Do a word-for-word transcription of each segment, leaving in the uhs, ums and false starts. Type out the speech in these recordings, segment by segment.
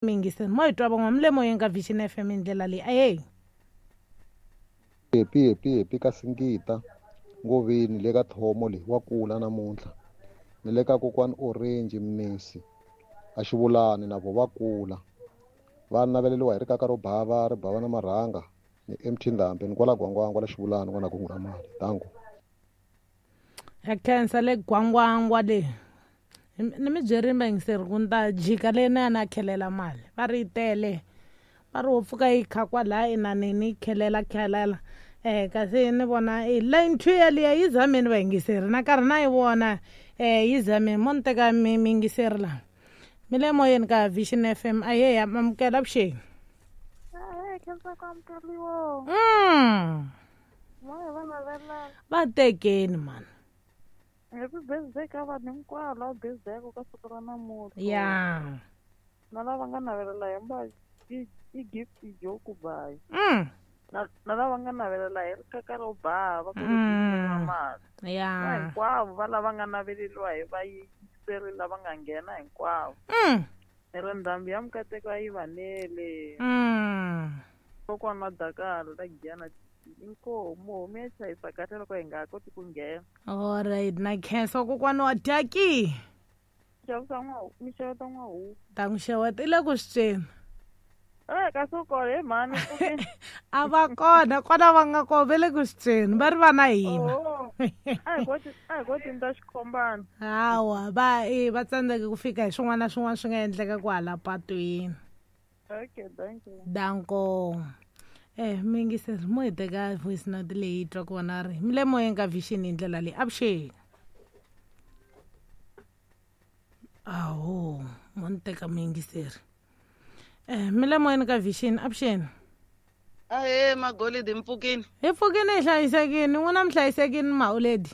Mingiseni mo hi twa van'wana mi le moyeni ka Vision F M hi ndlela leyi ahee. Happy happy happy ka Singita Ngoveni le ka Thomo leyi wa kula namuntlha ni le ka kokwani Orange Mnisi a Xivulani na vo va kula va naveleliwa hi rikaka ro bava ri bava na marhanga ni M T Ndhambi ni kwala Gwangwangwa la Xivulani n'wana kungu ra mali dango ya khensa le Gwangwangwa le ni mi byerini vayingiseri ku ni ta jika leyi na ya na khelela mali va ri yi tele va ri wo pfuka yi kha kwalaya inaneni yi khelela khelela eh kasi ni vona i line two yaliya yi zameni vayingiseri na karhi na yi vona eh yi zameni mo ni teka mi miyingiseri laha mi le moyeni ka Vision F M ahee amukela vuxeni mm va tekeni mani. Happy birthday ka vanhu hinkwavo lava birthday ka siku ra namuntlha. Ya. Na lava nga navelela hi mba i i gift joke bayi. Mm. Na na lava nga navelela hi rikaka ro bava ku Mm. mali. Ya. Na hinkwavo va lava nga naveleliwa hi vayingiseri lava nga nghena hinkwavo. Mm. Ni ri ndhambi ya mikateko a yi vanele. Mm. Kokwana wa Dakar la Giyani inkomu mi ya chayisa kahle loko hi nga koti ku nghena. Alright na khensa kokwana wa Daki. Xavisa n'wa mi xeweta n'wahuku. Ta n'wi xeweta i le ku swi tweni. Eh kasi u kona he mhani A va kona kona va nga kona va le ku swi tweni va ri va na hina. Oh. A hi koti a hi koti ni ta xikhombana. Hawa va e va tsandzeke ku fika hi swin'wana na swin'wana swi nga endleka kwala patwini. Okay, thank you. Danko. Eh miyingiseri mo hi teka voice note leyi twa ku vona ri mi le moyeni ka Vision hi ndlela leyi avuxeni. Aho mo ni teka muyingiseri. Eh mi le moyeni ka Vision avuxeni. Ahee Magolidi mpfukini. Hi pfukini hi hlayisekini n'wina mi hlayisekini Mauledi.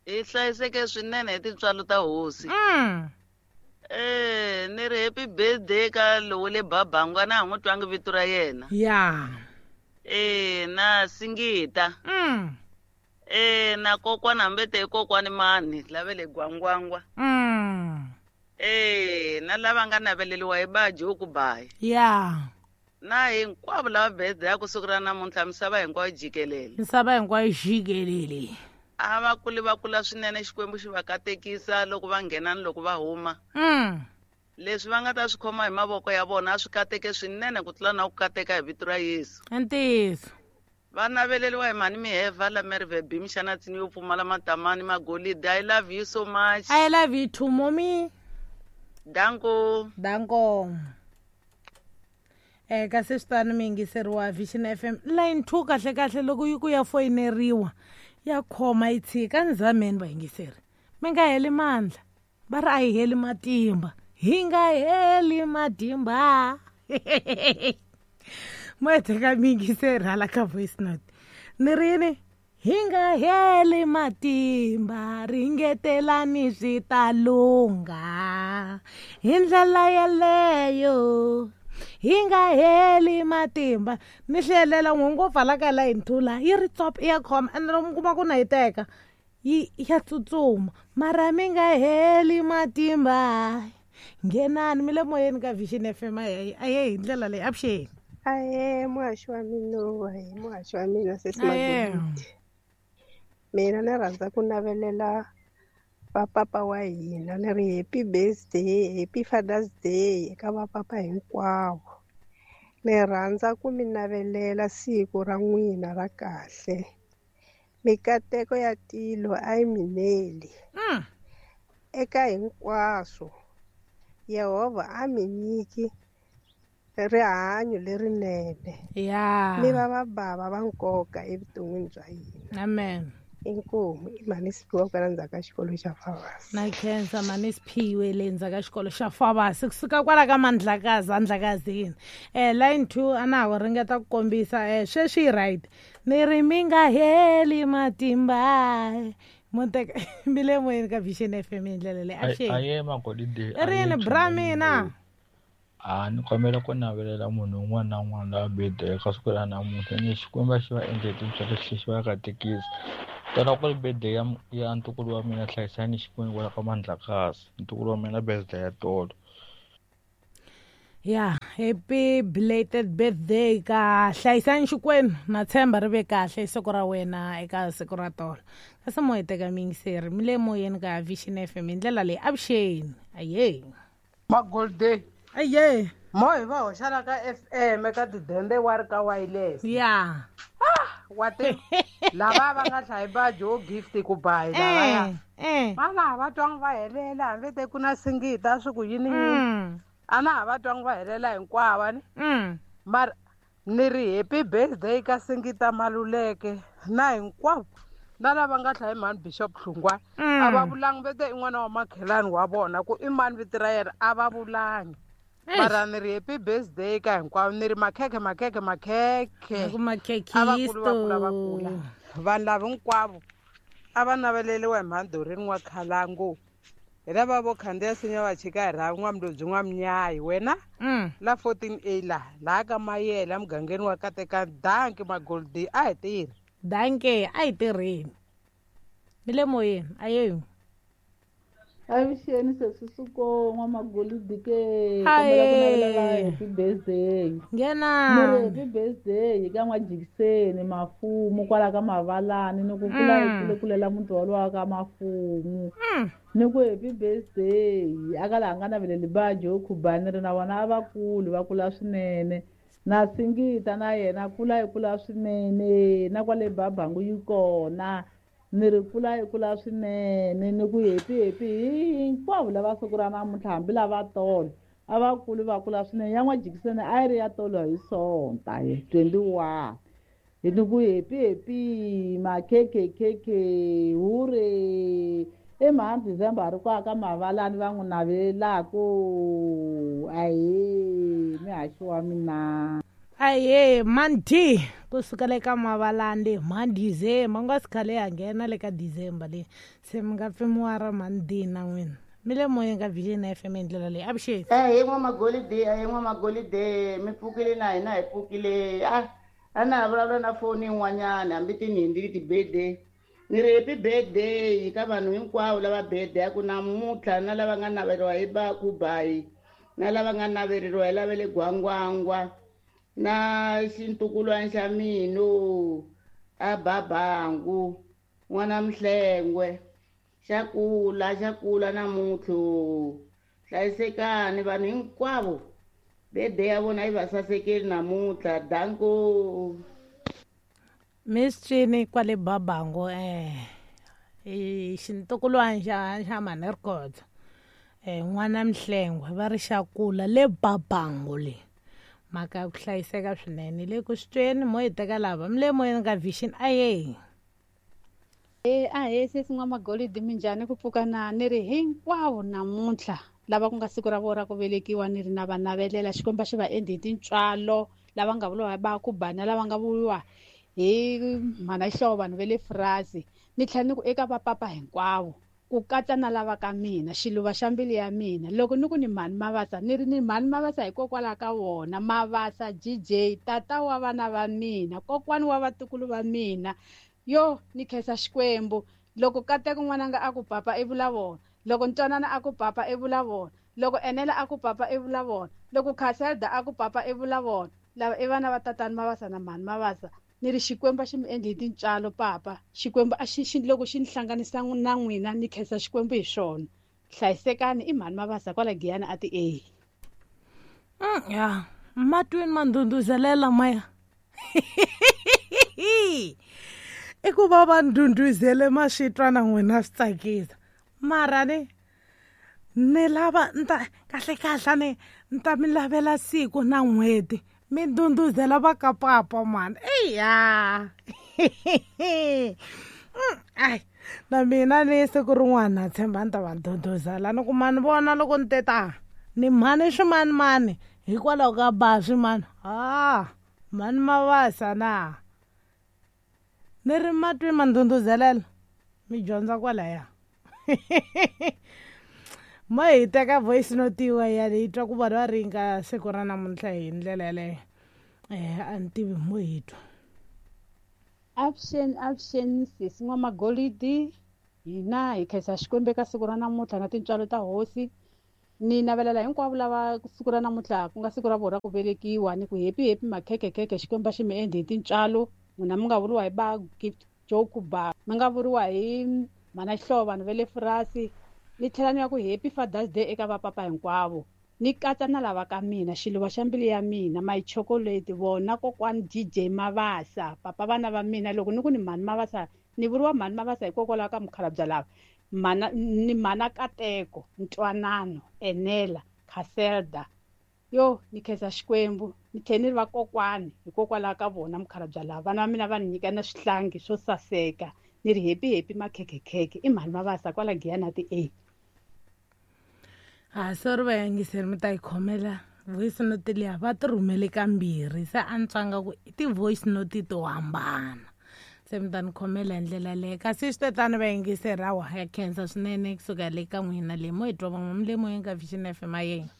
Hi hlayiseke swinene hi tintswalo ta hosi. Mm. Eh ni ri happy birthday ka lowo le Babangwa na ha n'wi twangi vito ra yena. Ya. Eh na Singita. Mm. Eh na kokwana hambi te kokwani mani lave le Gwangwangwa. Mm. Eh na lava nga naveleliwa hi baji ku bayi. Ya. Na hinkwavo lava birthday ya ku sukela namuntlha misava hinkwayo jikelele. Misava hinkwayo jikelele. A va kuli va kula swinene Xikwembu xi va katekisa loko va nghena ni loko va huma. Mm. Leswi va nga ta swi khoma hi mavoko ya vona a swi kateke swinene ku tlula na ku kateka hi vito ra Yesu. Ntiyiso. Va naveleliwa hi mhani Miheva la Merve Bim xana tsini yo pfumala matamani Magolidi. I love you so much. I love you too mommy. Danko. Danko. Eh kasi swi tani miyingiseri wa Vision F M line two kahle kahle loko yi ku ya foyineriwa ya khoma yi tshika ni zameni vayingiseri mi nga heli mandla va ri a hi heli matimba hi nga heli matimba. Mo hi teka miyingiseri hala ka voice note ni rini hi nga heli matimba ringetelani swi ta lungha hi ndlela yeleyo hi nga heli matimba. Ni hlelela n'we ngopfu hala ka line two laha yi ri tsop i ya khoma ende loko mi kuma ku na yi teka yi ya tsutsuma mara mi nga heli matimba. Nghenani mi le moyeni ka Vision F M ahee ahee hi ndlela leyi avuxeni. Ahee muhaxi wa mina ahee muhaxi wa mina sesi Ahee. Magolidi. Mina ni rhandza ku navelela vapapa wa hina ni ri happy birthday happy Father's Day eka vapapa hinkwavo. Ni rhandza ku mi navelela siku ra n'wina ra kahle. Mikateko ya tilo a yi mineli. Mm. Eka hinkwaswo Yehovha a mi nyiki rihanyo lerinene. Ya. Mi va vabava va nkoka evuton'wini bya hina. Amen. Inkomu i mhani Siphiwe kwala ndzhaku ka xikolo xa Fabasi. Na khensa mhani Siphiwe le ndzhaku ka xikolo xa Fabasi kusuka kwala ka Mandlakazi Andlakazini. Eh line two a na ha ringeta ku kombisa eh sweswi right ni ri mi nga heli matimba mo teka mi le moyeni ka Vision F M hi ndlela leyi avuxeni. Ahee Magolidi. I rini bra mina. A ni kombela ku navelela munhu un'wana na un'wana loyi a birthday ka siku ra namuntlha ni Xikwembu xi va endle tintswalo xi va katekisa. Tala ku ri birthday ya ya ntukulu wa mina Hlayisani Xikwembu kwala ka Mandlakazi ntukulu wa mina birthday ya tolo. Ya, happy belated birthday ka Hlayisani Xikwenu na tshemba ri ve kahle siku ra wena eka siku ra tolo. Kasi mo hi teka miyingiseri mi le moyeni ka Vision F M hi ndlela leyi avuxeni. Aye. Magolde. Aye. Mo hi va hoxana ka F M eka tidende wa ri ka wireless. Ya. Ah, wa ti lava va nga hlayi ba jo gift ku bayi lava ya. Eh. Vana va twanga va helela hambi te ku na singita swi ku yini yini. Ana va twanga va helela hinkwavo ni. Mm. Mara ni ri happy birthday ka Singita Maluleke na hinkwavo na lava nga hlayi mhani Bishop Hlungwa. A va vulangi vete i n'wana wa makhelani wa vona ku i mani vito ra yena a va vulangi. Mara ni ri happy birthday ka hinkwavo ni ri makhekhe makhekhe makhekhe. Ku makhekhisto. A va kula va kula va kula. Vanhu lava hinkwavo a va naveleliwa hi mhani Doreen wa Khalango. Hi lava vo khandziya sinya va chika hi rhavi n'wamlobyi n'wamnyayi wena la fourteen A la laha ka Mayele emugangeni wa Kateka. Danki Magoldi a hi tirhi. Danke a hi tirheni. Mi le moyeni ayeyo. Avuxeni sesi Suko n'wamagolidi ke kombela ku navelela happy birthday. Nghena. Ni ri happy birthday ka n'wajikiseni mafumu kwala ka Mavalani ni ku kula hi kule kulela muti walowa ka mafumu. Ni ku happy birthday aka laha nga naveleli ba Joe Khubani ri na vona a va kuli va kula swinene. Na Singita na yena kula hi kula swinene na kwale Babangu yi kona. Ni ri kula hi kula swinene ni ku happy happy hinkwavo lava siku ra namuntlha hambi lava tolo a va kuli va kula swinene. Ya n'wajikiseni a yi ri ya tolo hi Sonta hi twenty-one. Hi ni ku happy happy makhekhekhekhe hure i mhani December a ri kwaka ka Mavalani va n'wi navelelaku. Ahee mihaxi wa mina. Aye mandi kusuka le ka Mavalani mhani December nga si khale ya nghena le ka December le se mi nga pfimiwa ra mhani na n'wina. Mi le moyeni ka Vision F M hi ndlela leyi avuxeni. Ahee n'wamagolide ahee n'wamagolide mi pfukile na hina hi pfukile. A a na ha vulavula na foni yin'wanyana hambi tinhindi ti-birthday. Ni ri happy birthday ka vanhu hinkwavo lava birthday ku namuntlha na lava nga naveriwa hi ba ku bayi na lava nga naveleriwa hi lava le Gwangwangwa na xintukulwana xa mina a Babangu n'wana Mhlengwe xa kula xa kula namuntlha. Hlayisekani vanhu hinkwavo birthday ya vona yi va sasekeli namuntlha. Danko. Miss Chini kwale Babangu eh i xintukulwana xa xa mhani Rikotsa eh n'wana Mhlengwe va ri xa kula le Babangu le. Mhaka ya ku hlayiseka swinene le ku swi tweni mo hi teka lava mi le moyeni ka Vision aye. E ahee sesi n'wamagolidi minjhani ku pfuka na ni ri hinkwavo namuntlha lava ku nga siku ra vona ra ku velekiwa ni ri na va navelela Xikwembu xi va endli hi tintswalo lava nga vuriwa ba ku bana lava nga vuriwa hi mhana Xihlovo vanhu va le Frasi. Ni tlhela ni ku eka vapapa hinkwavo ku katsa na lava ka mina xiluva xa mbilu ya mina loko ni ku ni mhani Mavasa ni ri ni mhani Mavasa hikokwalaho ka wona Mavasa G J tata wa vana va mina kokwani wa vatukulu va mina. Yo ni khensa Xikwembu loko Kateko n'wananga a ku papa i vula vona loko Ntwanana a ku papa i vula vona loko Enela a ku papa i vula vona loko Khaselda a ku papa i vula vona lava i vana va tatani Mavasa na mhani Mavasa. Ni ri Xikwembu a xi mi endli hi tintswalo papa. Xikwembu a xi xi loko xi ni hlanganisa na n'wina ni khensa Xikwembu hi xona. Hlayisekani i mhani Mavasa kwala Giyani a ti A. Mm, ya matwini ma ndhundhuzelela maya. I ku va va ndhundhuzele ma swi twa na n'wina swi tsakisa. Mara ni ni lava ni ta kahle kahle ni ni ta mi lavela siku na n'hweti mi ndhundhuzela va ka papa mani. Eya. Ai na mina ni siku rin'wana na tshemba ni ta va ndhundhuzela ni ku mani vona loko ni te ta ni mhani swimanimani hikwalaho ka ba swimani. Ah mhani Mavasa na ni ri matwi ma ndhundhuzelela mi dyondza kwalaya. Ma hi teka voice note yin'wanyana hi twa ku vanhu va ringa siku ra namuntlha hi ndlela yaleyo. Eh a ni tivi mo hi twa. Avuxeni avuxeni sesi n'wamagolidi hina hi khensa Xikwembu eka siku ra namuntlha na tintswalo ta hosi. Ni navelela hinkwavo lava siku ra namuntlha ku nga siku ra vona ra ku velekiwa, ni ku happy happy makhekhekhekhe, Xikwembu xi mi endle hi tintswalo. N'wina mi nga vuriwa hi ba Gift Joke ba, mi nga vuriwa hi Mana Xihlovo, vanhu va le Furasi. Ni tlhela ni ya ku happy Father's Day eka vapapa hinkwavo. Ni katsa na lava ka mina, xiluva xa mbilu ya mina, my chocolate, vona kokwani D J Mabasa, papa vana va mina. Loko ni ku ni Mhani Mabasa, ni vuriwa Mhani Mabasa hikokwalaho ka mukhalabye lava. Mana ni Mana Kateko, Ntwanano, Enela, Khaselda. Yo, ni khensa Xikwembu, ni tlhela ni ri va kokwani hikokwalaho ka vona mukhalabye lava. Vana va mina va ni nyika na swihlangi swo saseka. Ni ri happy happy makhekhekhekhe. I Mhani Mabasa kwala Giyani ti A. Ha sorry vayingiseri, mi ta yi khomela voice note liya va ti rhumele kambirhi, se a ni twanga ku i ti-voice note to hambana, se mi ta ni khomela hi ndlela leyo. Kasi swi tetani vayingiseri, hawa ya khensa swinene kusuka le ka n'wina le mo hi twa van'we mi le moyeni ka Vision F M. Ayeng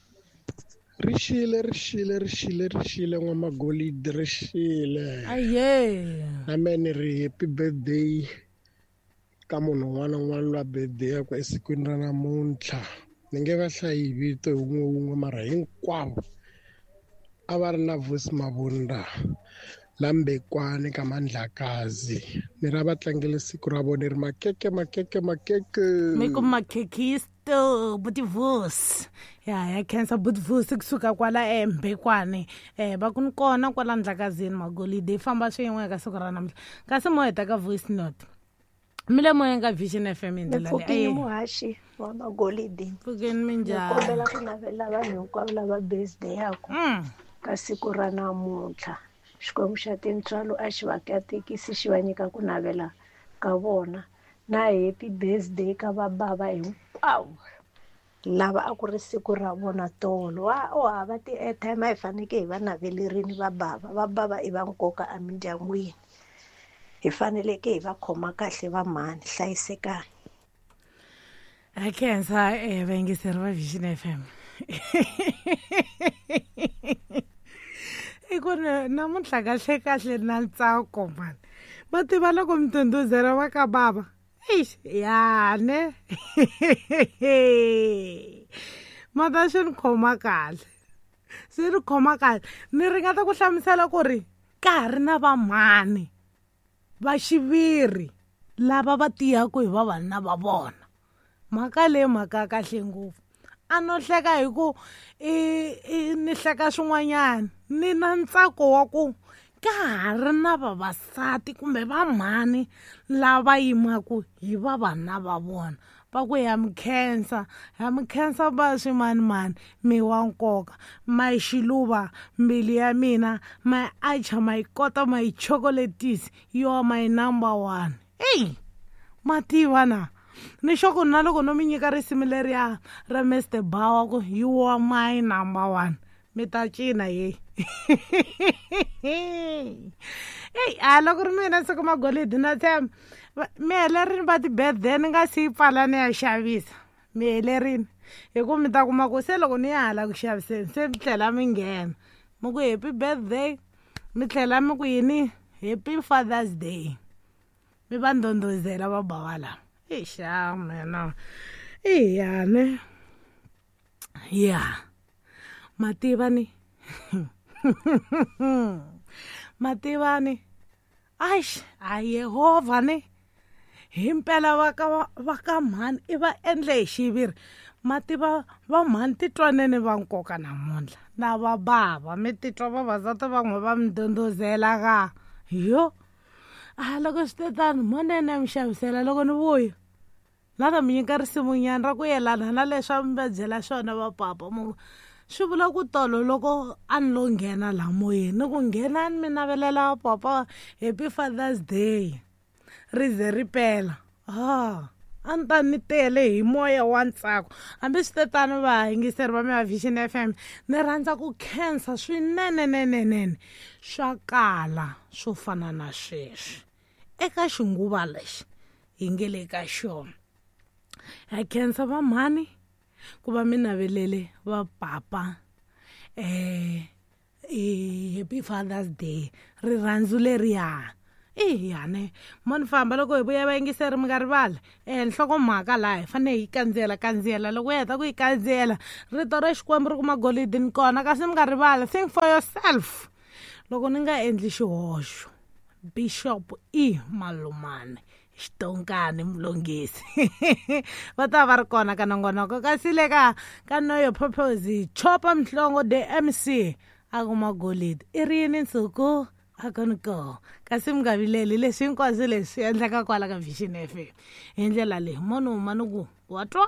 ri xile ri xile ri xile ri xile N'wamagolidi ri xile. Aye na mehe ni ri happy birthday ka munhu un'wana na un'wana loyi a birthday-aku esikwini ra namuntlha. Ni nge va hlayi vito hi wun'we wun'we, mara hinkwavo a va ri na Vusi Mabunda la Mbekwani ka Mandlakazi. Ni ra va tlangele siku ra vona ri makeke makeke makeke. Mi ku makhekisto buti Vusi. Ya ya khensa buti Vusi kusuka kwala eMbekwani. Eh va ku ni kona kwala Ndlakazini Magolide, famba swin'we ka siku ra namuntlha. Kasi mo heta ka voice note. Mi le moyeni ka Vision F M hi ndlela leyi. Muhaxi wa Magolidi. Pfukeni minjhani? Ni kombela ku navela vanhu hinkwavo lava birthday yaku ka siku ra namuntlha. Xikwembu xa tintswalo a xi va katekisi, xi va nyika ku navela ka vona. Na happy birthday ka vabava hinkwavo lava a ku ri siku ra vona tolo. Wa o hava ti-airtime, a hi faneke hi va navelerini vabava. Vabava i va nkoka emindyangwini, hi faneleke hi va khoma kahle va mhani. Hlayisekani. A khensa eh vayingiseri va Vision F M. I ku namuntlha kahle kahle na ntsako mani. Va tiva loko mi tunduzela va ka bava. Eish, ya ne. Mata swi ni khoma kahle. Swi ni khoma kahle. Ni ringeta ku hlamusela ku ri ka ha ri na vamhani va xiviri lava va tiyaku hi vavanuna va vona. Mhaka leyi mhaka kahle ngopfu. A no hleka hi ku i ni hleka swin'wanyana, ni na ntsako wa ku ka ha ri na vavasati kumbe vamhani lava yimaku hi vavanuna va vona. Va ku ya mi khensa, ya mi khensa va swimanimani, mi wa nkoka, my xiluva mbilu ya mina, my acha, my kota, my chocolates, you are my number one. Ey, mativa na ni xoko na loko no mi nyika risimu leriya ra Mister Bawa ku you are my number one, mi ta cina ye. Ey, a loko ri mina siku Magolidi na tshemba mi helerini va ti-birthday ni nga si yi pfala ni ya xavisa. Mi helerini hi ku mi ta kuma ku se loko ni ya hala ku xaviseni se mi tlhela mi nghena mi ku happy birthday, mi tlhela mi ku yini happy Father's Day, mi va ndondozela va bava lava. Eixa mina iya ne ya mativa ni mativa ni aish a Yehovha ni himpela va ka va ka mhani i va endle hi xiviri. Mativa va mhani titwanene va nkoka namuntlha na va bava mi titwa vavasati van'we va mi ndondozela ka yo. A loko swi tetani monene mi xavisela loko ni vuya na ta mi nyika risimunyana ra ku yelana na leswi a mi va byela swona va papa. Mo swi vula ku tolo loko a ni lo nghena laha moyeni ni ku nghenani mi navelela papa happy Father's Day ri ze ri pela. Ah, a ni ta ni tele hi moya wa ntsako. Hambi swi tetani vayingiseri va mi va Vision F M, ni rhandza ku khensa swinenenenene swa kala swo fana na sweswi eka xinguva lexi hi nge le ka xona. Ha khensa va mhani ku va mi navelele va papa eh happy Father's Day, rirhandzu leriya. I yane mo ni famba loko hi vuya vayingiseri mi nga rivali um nhlokomhaka laha hi fanele hi yi kandziyela kandziyela loko hi heta ku yi kandziyela rito ra Xikwembu ri kuma golidi ni kona kasi mi nga rivali think for yourself loko ni nga endli xihoxo Bishop E Malumane Xitonkani Mulungisi va ta va ri kona ka nongonoko kasi le ka ka Know Your Purpose Chopa Mhlongo the M C a kuma golidi i ri yini nsuku a ku ni koho kasi mi nga vileli leswi hinkwaswo leswi endleka kwala ka Vision F M hi ndlela leyi munhu huma ni ku wa twa.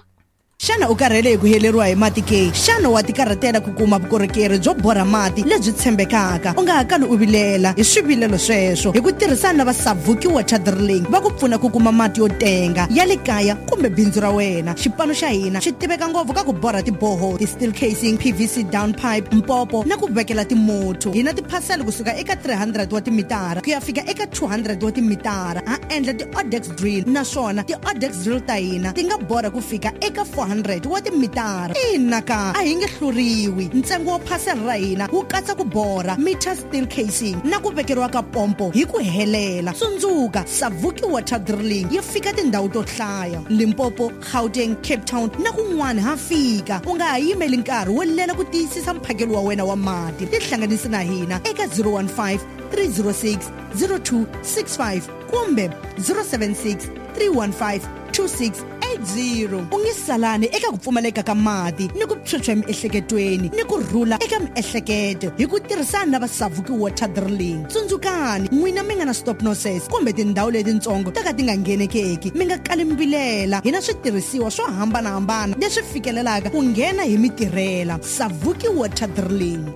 Xana u karhele hi ku heleriwa hi mati ke? Xana wa tikarhatela ku kuma vukorhokeri byo borha mati lebyi tshembekaka? U nga ha kali u vilela hi swivilelo sweswo hi ku tirhisana na va Savuki Water Drilling va ku pfuna ku kuma mati yo tenga ya le kaya kumbe bindzu ra wena. Xipano xa hina xi tiveka ngopfu ka ku borha tiboho, ti-steel casing, P V C down pipe, mpopo na ku vekela timotho. Hi na tiphasela kusuka eka three hundred wa timitara ku ya fika eka two hundred wa timitara. Ha endla ti-Odex drill naswona ti-Odex drill ta hina ti nga borha ku fika eka four hundred wa timitara. Ina ka a hi nge hluriwi. Ntsengo wa phasela ra hina wu katsa ku borha, meter steel casing na ku vekeriwa ka pompo hi ku helela. Tsundzuka, Savuki Water Drilling yi fika tindhawu to hlaya: Limpopo, Gauteng, Cape Town na kun'wana ha fika. U nga ha yimeli nkarhi wo lela ku tiyisisa mphakelo wa wena wa mati. Tihlanganisi na hina eka zero one five, three zero six, zero two six five kumbe zero seven six, three one five, two six eight zero. U nge salani eka ku pfumaleka ka mati ni ku phyuphya emiehleketweni ni ku rhula eka miehleketo hi ku tirhisana na va Savuki Water Drilling. Tsundzukani, n'wina mi nga na stop nonsense kumbe tindhawu letitsongo ta ka ti nga nghenekeki, mi nga kali mi vilela. Hi na switirhisiwa swo hambanahambana leswi fikelelaka ku nghena hi mitirhela. Savuki Water Drilling.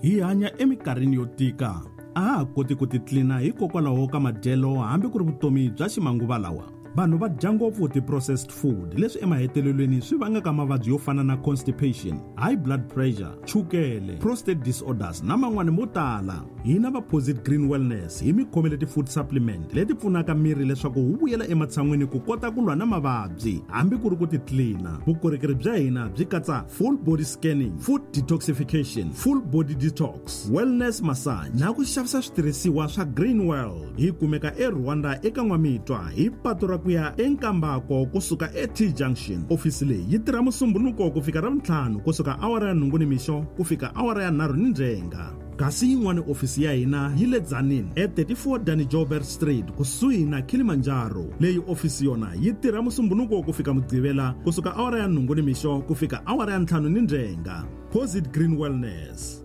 Hi hanya eminkarhini yo tika. A ha koti ku titlina hikokwalaho ka madyelo hambi ku ri vutomi bya ximanguva lawa. Vanhu va dya ngopfu ti-processed food leswi emahetelelweni swi vangaka mavabyi yo fana na constipation, high blood pressure, chukele, prostate disorders na man'wani mo tala. Hina va Posit Green Wellness hi mi khomele ti-food supplement leti pfunaka miri leswaku wu vuyela ematshan'wini ku kota ku lwa na mavabyi hambi ku ri ku titlina. Vukorhokeri bya hina byi katsa full body scanning, food detoxification, full body detox, wellness massage na ku xavisa switirhisiwa swa Green World. Hi kumeka eRwanda eka N'wamitwa hi patu ra ku ya eNkambako kusuka e-T Junction. Ofisi leyi yi tirha Musumbhunuko ku fika Ravuntlhanu kusuka awara ya nhungu nimixo ku fika awara ya nharhu ni ndzhenga. Kasi yin'wana ofisi ya hina yi le Tzaneen e thirty-four Danny Joubert Street kusuhi na Kilimanjaro. Leyi ofisi yona yi tirha Musumbhunuko ku fika Mugqivela kusuka awara ya nhungu nimixo ku fika awara ya ntlhanu ni ndzhenga. Posit Green Wellness.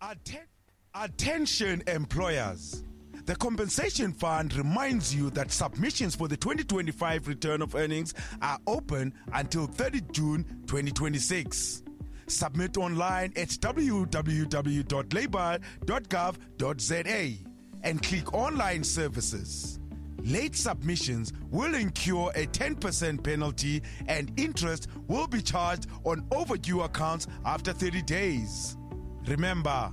Atten- Attention employers. The Compensation Fund reminds you that submissions for the twenty twenty-five return of earnings are open until thirtieth June twenty twenty-six. Submit online at w w w dot labour dot gov dot z a and click Online Services. Late submissions will incur a ten percent penalty and interest will be charged on overdue accounts after thirty days. Remember,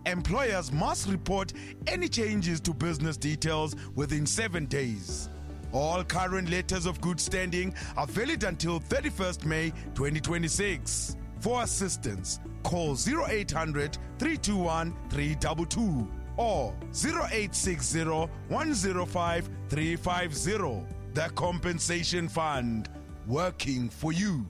employers must report any changes to business details within seven days. All current letters of good standing are valid until thirty-first May twenty twenty-six. For assistance, call zero eight hundred, three two one, three two two or zero eight six zero, one zero five, three five zero. The Compensation Fund, working for you.